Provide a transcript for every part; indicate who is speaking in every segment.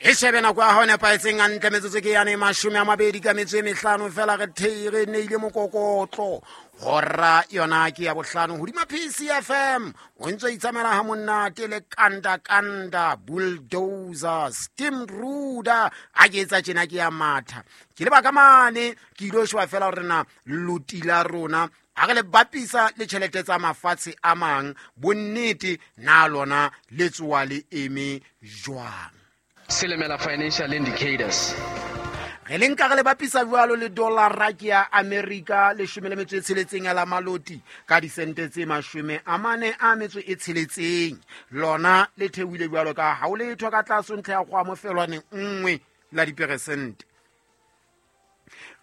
Speaker 1: E shebe nako ya hao nepahetseng hantle, metsotso ke yane 20 ka metso e mehlano fela re thei re neile mokokotlo. Hora yona ke ya bohlano hodima PCFM. O ntse o itsamela ha monate le kanda kanda bulldozer steam ruder a ke etsa tjena ke ya matha. Ke leba ka mane ke ilo sheba fela hore na loti la rona a re le bapisa le tjhelete tsa mafatshe a mang, bonnete na lona le tsoa le eme jwang.
Speaker 2: Silimela Financial Indicators.
Speaker 1: Re le nka re le bapisa jwalo le dollara ke ya Amerika 16 ya la maloti ka disente tse 46. Lona le theohile jwalo ka ha o letho ka tlase ntlha ya kgwa mofelwane 1 la diperesente.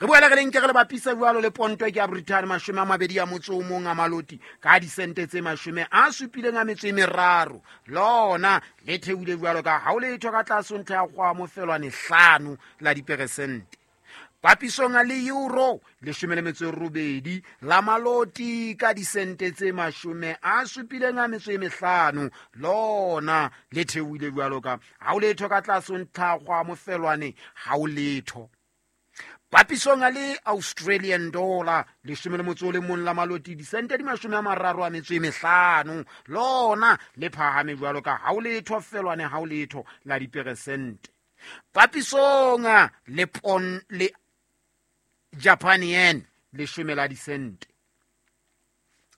Speaker 1: Re boele re le nke re le bapisa jwalo le ponto ke ya Britain 21 a maloti ka disente tse 73. Lona le theohile jwalo ka ha o letho ka tlase ntlha ya kgwa mofelwane 5 la diperesente. Papisong le euro 18 la maloti ka disente tse 75. Lona le theohile jwalo ka ha o letho ka tlase ntlha ya kgwa mofelwane ha o letho. Papisong le Australian dollar 11 la maloti disente di 35. Lona le phahame jwalo ka ha o letho felwane ha o letho la diperesente. Papisong le pon le Japan yen 10 la disente.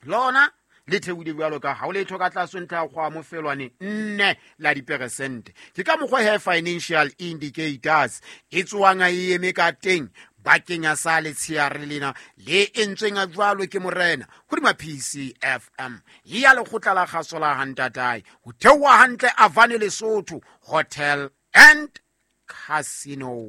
Speaker 1: Lona le theohile jwalo ka ha o letho ka tlase ntlha ya kgwa mofelwane 4 la diperesente. Ke ka mokgwa he Financial Indicators e tsoang e eme ka teng bakeng ya sa letsheare lena le entsweng a jwalo ke morena hodima PCFM ya lekgotla la kgaso la Hantatae ho theoha hantle Avane Lesotho Hotel and Casino.